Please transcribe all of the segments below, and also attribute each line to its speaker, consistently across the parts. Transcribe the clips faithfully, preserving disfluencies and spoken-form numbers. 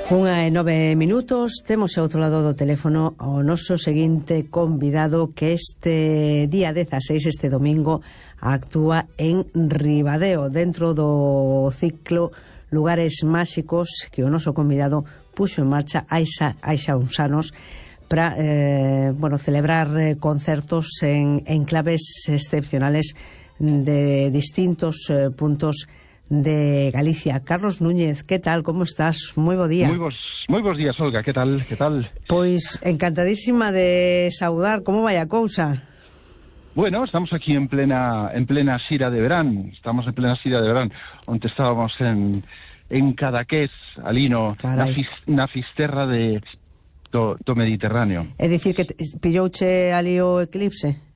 Speaker 1: Unha e nove minutos, temos ao outro lado do teléfono o noso seguinte convidado que este día dezaseis, este domingo, actúa en Ribadeo, dentro do ciclo Lugares Máxicos que o noso convidado puxo en marcha hai xa, hai xa uns anos para eh, bueno, celebrar eh, concertos en, en claves excepcionales de distintos eh, puntos de Galicia. Carlos Núñez, que tal? Como estás? Moi bo día.
Speaker 2: Moi bos, moi bos días, Olga, que tal? Que tal?
Speaker 1: Pois encantadísima de saudar. Como vai a cousa?
Speaker 2: Bueno, estamos aquí en plena en plena xira de verán. Estamos en plena xira de verán, onde estábamos en en Cadaqués, ali no na, fis, na fisterra de do, do Mediterráneo.
Speaker 1: É dicir que pillouche ali o eclipse?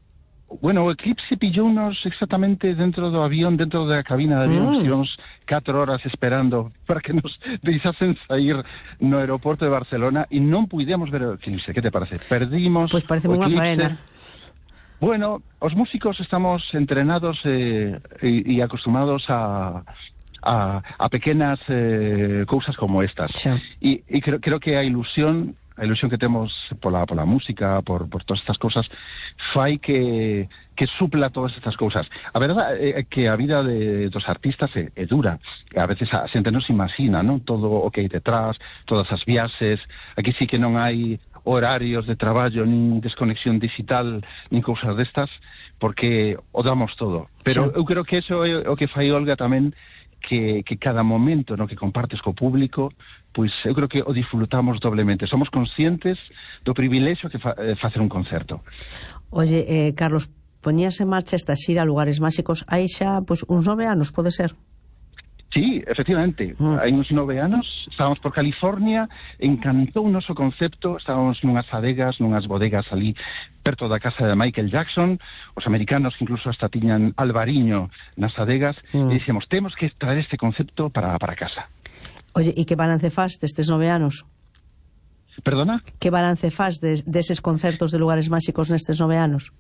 Speaker 2: Bueno, o eclipse pillounos exactamente dentro do avión, dentro da cabina de avión, mm. catro horas esperando para que nos deixasen sair no aeroporto de Barcelona e non puidemos ver o eclipse. Que te parece? Perdimos
Speaker 1: Pois parece unha faena.
Speaker 2: Bueno, os músicos estamos entrenados eh, e, e acostumados a... a, a pequenas eh, cousas como estas. E, e creo, creo que a ilusión a ilusión que temos pola, pola música, por, por todas estas cousas, fai que, que supla todas estas cousas. A verdade é que a vida de, dos artistas é, é dura. A veces a xente non se imagina, non? Todo o que hai detrás, todas as viaxes. Aquí sí que non hai horarios de traballo, nin desconexión digital, nin cousas destas, porque o damos todo. Pero sí. Eu creo que eso é o que fai Olga tamén, que, que cada momento no que compartes co público, pois eu creo que o disfrutamos doblemente. Somos conscientes do privilexio que fa, eh, facer un concerto.
Speaker 1: Oye, eh, Carlos, poñías en marcha esta xira Lugares Máxicos hai xa pois, uns nove anos, pode ser?
Speaker 2: Sí, efectivamente, mm. hai uns nove anos, estábamos por California, encantou o noso concepto, estábamos nunhas adegas, nunhas bodegas ali, perto da casa de Michael Jackson, os americanos que incluso hasta tiñan albariño nas adegas, mm. e dixemos, temos que traer este concepto para, para casa.
Speaker 1: Oye, e que balance faz destes nove anos?
Speaker 2: Perdona?
Speaker 1: Que balance faz des, deses concertos de Lugares Máxicos nestes nove anos?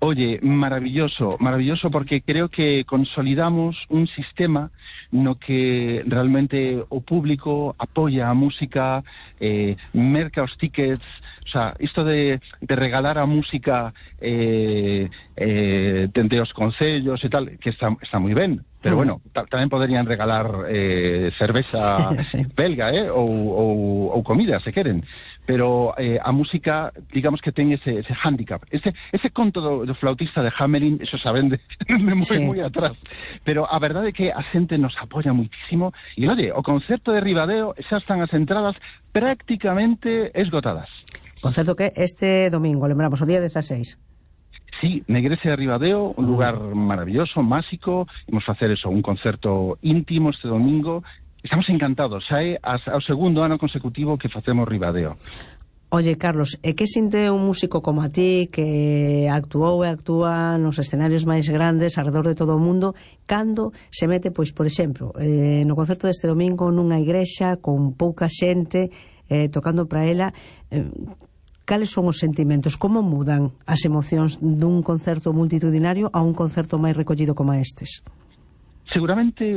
Speaker 2: Oye, maravilloso, maravilloso porque creo que consolidamos un sistema no que realmente o público apoia a música, eh, merca os tickets, o sea, isto de, de regalar a música eh, eh, dende os concellos e tal, que está, está moi ben. Pero bueno, tamén poderían regalar eh, cerveza sí. belga, eh, ou, ou, ou comida, se queren. Pero eh, a música, digamos que ten ese, ese hándicap. Ese, ese conto do, do flautista de Hamelin, eso saben de, de moi, sí. moi atrás. Pero a verdade é que a xente nos apoia muitísimo. E, oye, o concerto de Ribadeo xa están as entradas prácticamente esgotadas.
Speaker 1: Concerto que este domingo, lembramos, o día dezaseis.
Speaker 2: Sí, na igrexa de Ribadeo, un lugar maravilloso, máxico. Imos facer eso, un concerto íntimo este domingo. Estamos encantados, xa é ao segundo ano consecutivo que facemos Ribadeo.
Speaker 1: Oye, Carlos, e que sinte un músico como a ti que actuou e actúa nos escenarios máis grandes alrededor de todo o mundo cando se mete, pois, por exemplo, eh, no concerto deste domingo nunha igrexa con pouca xente eh, tocando para ela, eh, cales son os sentimentos? Como mudan as emocións dun concerto multitudinario a un concerto máis recollido como estes?
Speaker 2: Seguramente